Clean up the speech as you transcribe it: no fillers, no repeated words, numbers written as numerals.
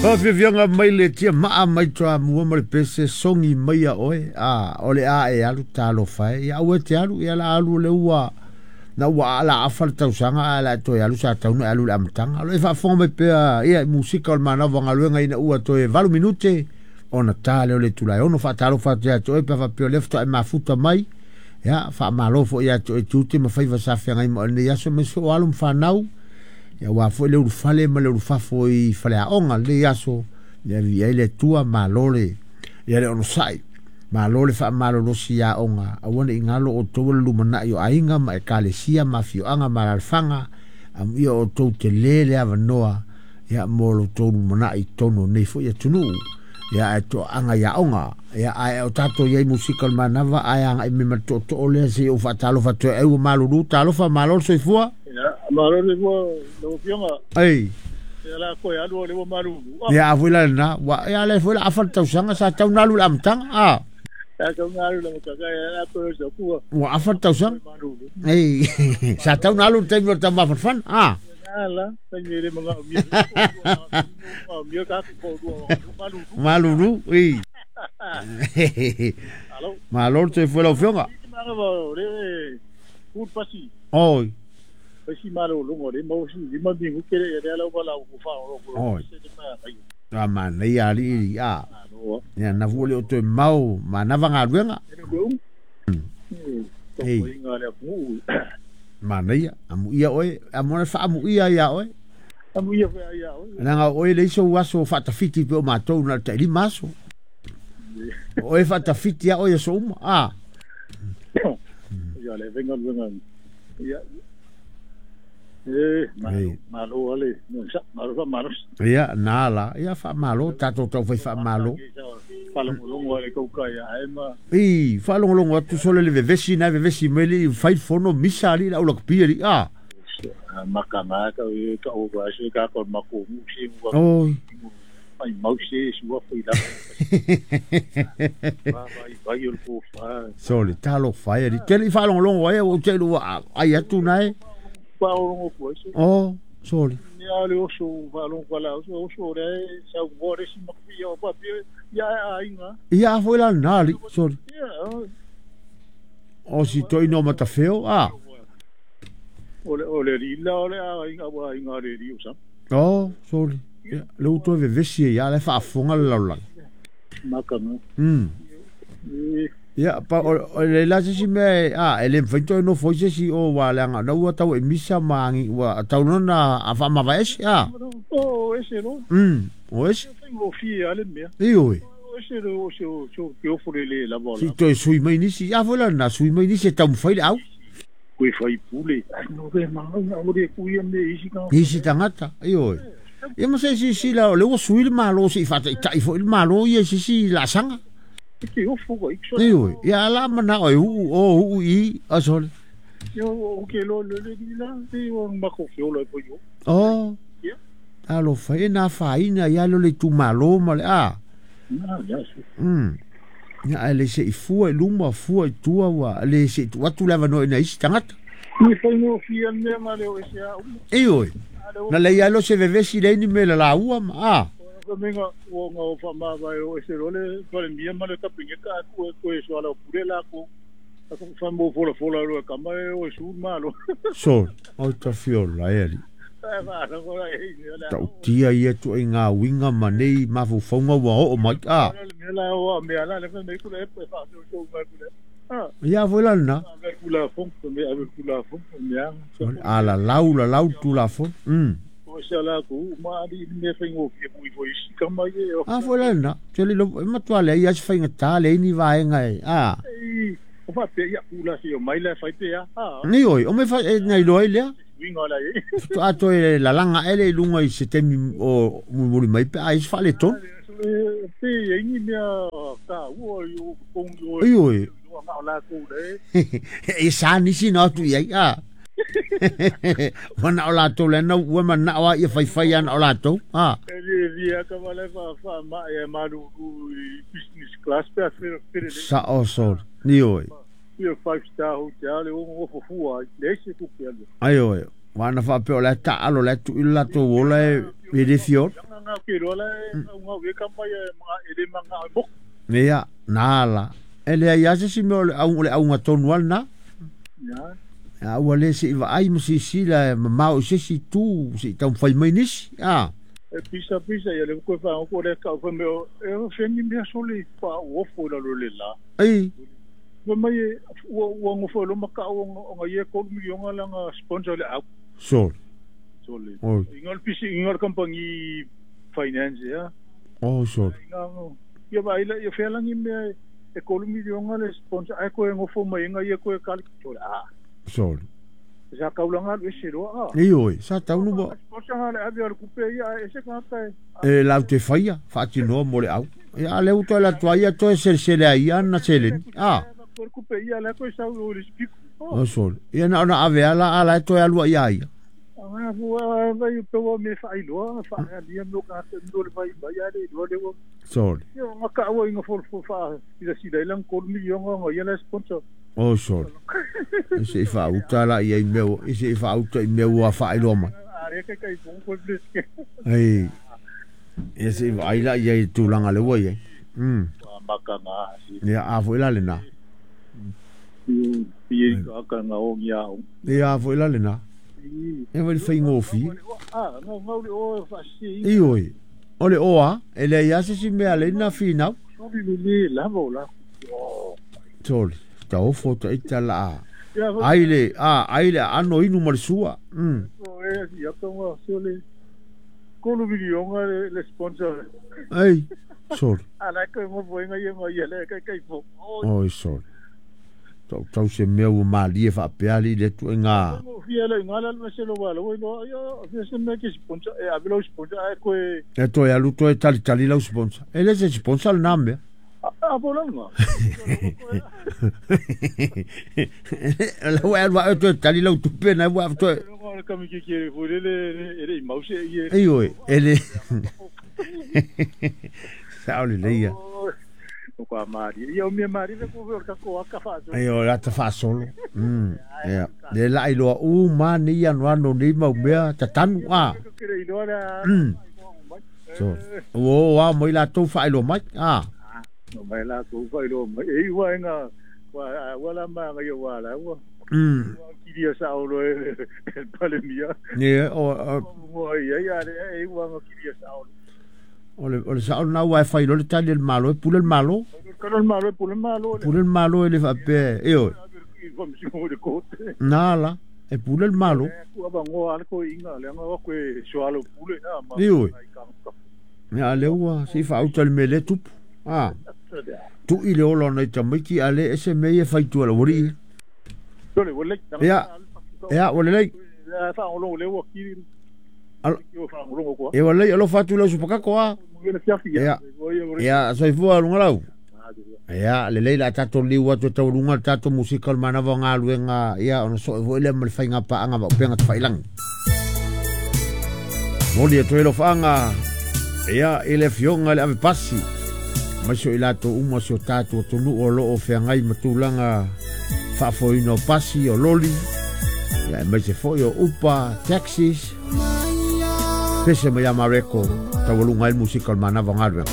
Faafiafiaga mai le tiamaa mai Toamua ma le pese sogi mai ia oe a o le a e alu talofa e ia aua e te alu ia la alu le ua na ua la afa le tausaga ae la e toe alu sa tau na e alu i le amataga. O lo o e faafofoga mai pea ia i musika o le manava galuega ina ua toe 8 minute ona ta lea o le itula e 6. Faatalofa atu ia te oe pe a faapea o lea faatoa e mafuta mai. Ia, faamalo foi ia te oe tiute ma faiva sa feagai ma oe i lenei aso, aemaise foi o alo ma fanau, ia aua foi le ulufale ma le ulufafo i faleaoga i lenei aso. Ia viia ai le Atua, malo le, ia le onosai, malo le faamalolosi i aoga, aua ne i galo outou o le lumanai o aiga ma ekalesia ma afioaga ma alaalafaga, amuia outou tele le avanoa, ia mo lo outou lumanai i totonu o lenei foi atunuu. Ia ae toaaga i aoga. Ia ae o tatou i ai musika o le manava ae agai mai ma le tootoo lea se i ou faatalofa atu ai ua malulu talofa malo le soifua. Ia, malo le soifua lau Afioga. Ei. Ia la koe alu o le ua malulu. Ia a foi la lena, ua ia le foi la afa le tausaga sa tau na alu i le amataga. A. Sa tau na alu i le amataga ia la koe o se kua. Ua afa le tausaga. Ei, sa tau na alu i le taimi o le taumafanafana. A. Malulu, i. Malo le soifua i lau Afioga. Oi. Oi. A manaia alii a. Ia na fu le o toe mau manava galuega. Ei. Manaia, amuia oe, amuia faamuia ia oe. Amuia foi ia oe. Leaga o oe leai sou aso faatafiti pei o matou na o le tailima aso. O oe faatafiti a oe i aso uma. A. Ia le venga luenga. Ia. E, malo, malo ale, malo faamalosi. Ia, na la, ia faamalo, tatou taufai faamalo. Faalogologo ale kauka ia ae ma. I, faalogologo atu sole le vevesi na vevesi mai le fai fono misa ali la ula kupi ali a. Makanga ka e ka o va se ka ko mako mu si mu. Oi. Mai mau se sua foi la. Va vai vai o ko fa. Sole talo fai ali. Tele i faalogologo ai o te lua ai atu nai. Faalogologo ku ai se. Oh, sole. Ia le oso faalogologo la oso oso le sa ngo le si maku ia pa pi ia ainga. Ia foi la na ali sole. Ia. O si toi no matafeo a. O le lila o le ainga wa ainga le li o sa. Oh, sole. Ia le uto vevesi ia le faafofoga le lalolagi. Makanga. Ia, pa o le la se si mea a e le mafai toe nofo ai se isi o ua leaga na ua tau e misa ma agi ua tau loa na a faamavae ese a. O ese lo. O ese. Faigofie lava le mea. Ioe. O ese le o se o se o ke ofo le le lava o Si toe sui mai nisi, a foi la na sui mai nisi e taumafai le au. Koe faipule, ai no re maunga o le kuia me isi ka. Isi tagata, ioe. Ia ma se silasila o lea ua sui le Malo se i faataitai foi le Malo ia i se isi laasaga. Ke ofo ka ikso. Ioe, ia ala manao e uu o uu i a sole. Ia o ke lo le le ni la te o mako ke ola po yo. Oh. Ia. Talofa e na afaina ia le itumalo ma le a. Na ia su. Ia ae le se i fua i luma fua i tua ua le se i tuu atu le avanoa i nai isi tagata. Ni faigofie le mea ma le o ese a uma. Ioe. Na leai lava se vevesi leai ni mea i le laua ma a. Ka menga ua nga o faamavae o ese loa le Palemia ma le Kapeneta a ku e koe soala o pule lakou. A fa mo folafola loa e kama e o e su le Malo. Sole, oi tafiola e alii. Ta'utia ia ituaiga uiga ma nei mafaufauga ua oo mai a. Ia foi la lena. A lalau lalau le Tulafono. A foi la lena. Tele e matua leai lava se faigata leai ni vaega e a. Ioe, o mea e na iloa ai lea. Faatoa toe lalaga ae lea i luga i se taimi o mulimuli mai pe a i ai se faaletonu. Ioe. E sa nisi na o atu i ai, a. Ua na o latou le ana ua manao lava ia faifai lava na o latou, a. Sao sole. Ioe. Ia five star hotel le o nofo fua ai, leai se tupe alu. Aioe, ua ana faapea o la e taaalo, o la e tuu i le latou ola e le fia ola. Ia, nala. E lea ia se si mea o le au o le auga tonu lava lena. A ua le se'i vaai ma silasila e mamao i se isi itu se'i taumafai mai nisi, a. E pisa pisa ia le koe wha le ka fa me e o fengi mea soli pa o fo la lo le la. Ei. Wa mai ua ua ngofo lo maka o nga ye ko milionga la nga sponsor le au. Soli. Soli. Oi. Inga le pisi inga le company finance ya. Oh soli. Inga ia vai la ia felangi mea e kolu milionga le sponsor ai ko e ngofo mai nga ye ko e kali soli. Ah. Soli. Sa kaulanga le se roa. Ei oi, sa taunu ba. Sponsor le ave al kupe ia e se kata. E lau te faia, faatinoa mo le au. Ia le uto la tua ia toe selesele ai ia na seleni. Ah. Kupe ia la ko sa o le spiku. Oh soli. Ia na ona ave ala ala e toe alua ia ia. Anga fua vai pe o me fa iloa fa ia mo ka no le vai vai ia le lo le o. Soli. Ia nga ka o inga fo fo fa ila sida ilang ko milionga nga ia la sponsor. Oh soli. E se i faauta la ia i mea e se i faauta i mea ua faailoa mai. Are ka kai fo ko bleske. Ei. Ia se i vaai la ia i tulaga le ua iai. Makanga. Ia a foi la lena. Ia ka ka nga o ngia o. Ia a foi la lena. E vai faigofie. Ah, nga nga le o fa si. Ei oi. O le oa, e leai lava se isi mea alei na finau. Soli le le lava o la. Soli. Taofo taita la a. Ai le, a, ai le aano inu ma le sua. E ia tonga soli. Kolu milionga le sponsor. Ei, soli. Ala ko mo boinga ia mo ia le kai kai fo. Oi soli. Tau tau se mea ua malie faapea alii le ituaiga. Fia le ngala le se lo wala wo lo ia fia se me ke sponsor e ave lo sponsor ai ko e. E toe alu toe talitali lau sponsor. E le se sponsor lena mea. A bolanga. La ua alu ae toe tali lau tupe na ua toe. Le kami ke ke fo le le le mau se ie. Ei oi, e le. Sao le leia. O ka mari. Ia o mea mari le ko ka ko aka fa. Ei o la ta fa solo. Ia. Le la iloa u ma ni ano ano ni mau mea tatanu a. So, o a mai la tou faailoa mai. A. No mai la tou faailoa mai. E ua inga wa wala ma nga ia wala ua. Kiria sa o lo e palemia. Ia o mo ia ia le e ua nga kiria sa o. O le sao na ua e fai lo le tali le malo e pule le malo. Kalo le malo e pule le malo. Pule le malo e le faapea e oi. Nā la e pule le malo. Kua bangoa ale ko inga le anga ko e soalo pule a ma. E oi. Ia le ua si faauta le mea le tupu. Ah. Tu i le ola nei tamaiti a le ese mea e faitua la wari. Tole wale. Ia. Ia wale lei. Ia fa olo le ua kiri. E wale alofa atu lau supakako a. Ia. Ia soifua lunga lau. Ia lelei la tatou liu atu e taualuga le tatou musika o le manava o galuega ia ona soe foi lea ma le faigapaaga vaopega tafailagi. Moli atu ai lofaaga ia i le afioga i le avepasi mai so i latou uma si o tatou atunuu o loo feagai ma tulaga faafoeina o pasi o loli ia aemaise foi o upa taxis pese mai ia Mareko taualuga ai le musika o le manava o galuega.